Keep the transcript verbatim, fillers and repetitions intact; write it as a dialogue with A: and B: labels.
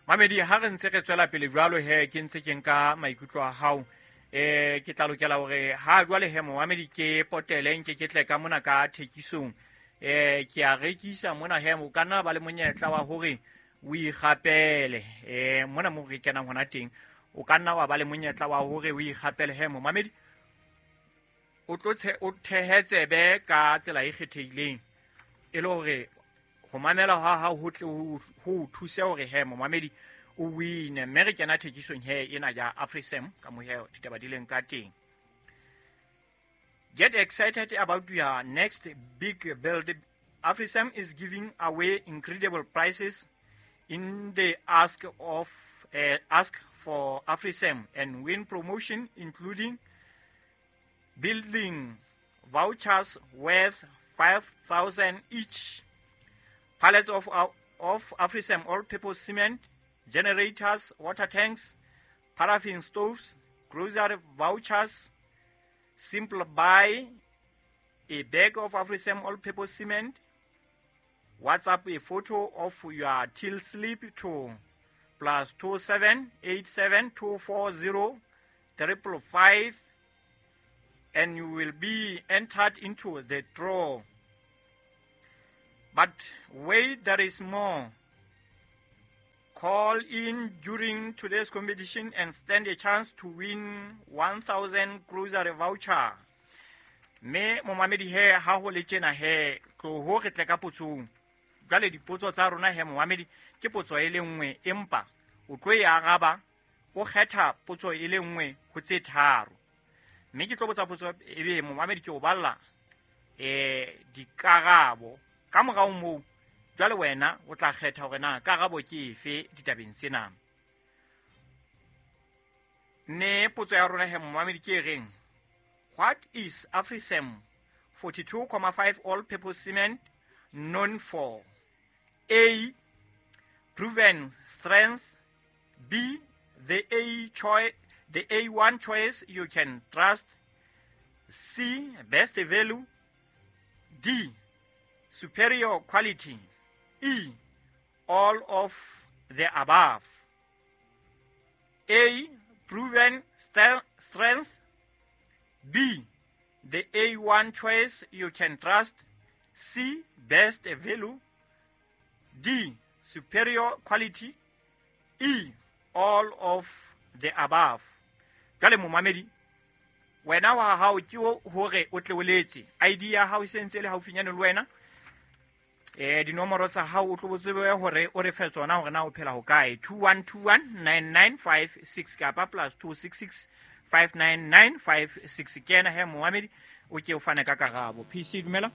A: Mamedi, ha re ntse re tswela pele jwalo he, ke ntse ke nka maikutlo a hao. Eh ke tla lokela hore ha jwale he, momamedi, ke potele nke ke tle ka mona ka thekisong. Eh ke a rekisa mona he, o ka nna ba le monyetla wa hore o ikgapele eh mona mo re kenang hona teng. O ka nna wa ba le monyetla wa hore o ikgapele he, momamedi, o tlo o thehe tsebe ka tsela e kgethehileng, e le hore ho mamela ha hao ho tle ho o thuse hore he, momamedi, o wine. Mme re kena thekisong he ena ya AfriSam ka mo he ditaba di leng ka teng. Get excited about your next big build. AfriSam is giving away incredible prizes in the ask of uh, ask for AfriSam and win promotion, including building vouchers worth five thousand each, pallets of, of AfriSam all-purpose cement, generators, water tanks, paraffin stoves, grocery vouchers. Simple: buy a bag of AfriSam all-purpose cement, WhatsApp a photo of your till slip to plus two seven eight seven two four zero triple five, and you will be entered into the draw. But wait, there is more. Call in during today's competition and stand a chance to win one thousand grocery voucher. Mme momamedi he, ha ho le tjena he, tloho re tle ka potsong. Jwale dipotso tsa rona he, momamedi, ke potso e le nngwe, empa o tlo e araba o kgetha potso e le nngwe ho tse tharo. Mme ke tlo botsa potso, ebe momamedi ke o balla eh dikarabo. Ka morao moo jwale wena o tla kgetha hore na karabo ke efe ditabeng tsena. Mme potso ya rona he, momamedi, ke e reng: What is AfriSam forty-two point five all purpose cement known for? A, proven strength. B, the A choice the A one choice you can trust. C, best value. D, superior quality. E, all of the above. A, proven strength. B, the A one choice you can trust. C, best value. D, superior quality. E, all of the above. Jwale momamedi, wena wa hao ke hore o tle o letse. I D ya hao e sentse le haufinyane le wena. Eh dinomoro tsa hao o tlo tsebe hore o re fe tsona hore na o phela ho kae. two one two one nine nine five six kapa plus two six six five nine nine five six. Kena he, momamedi, o ke o fane ka karabo. P C, dumela.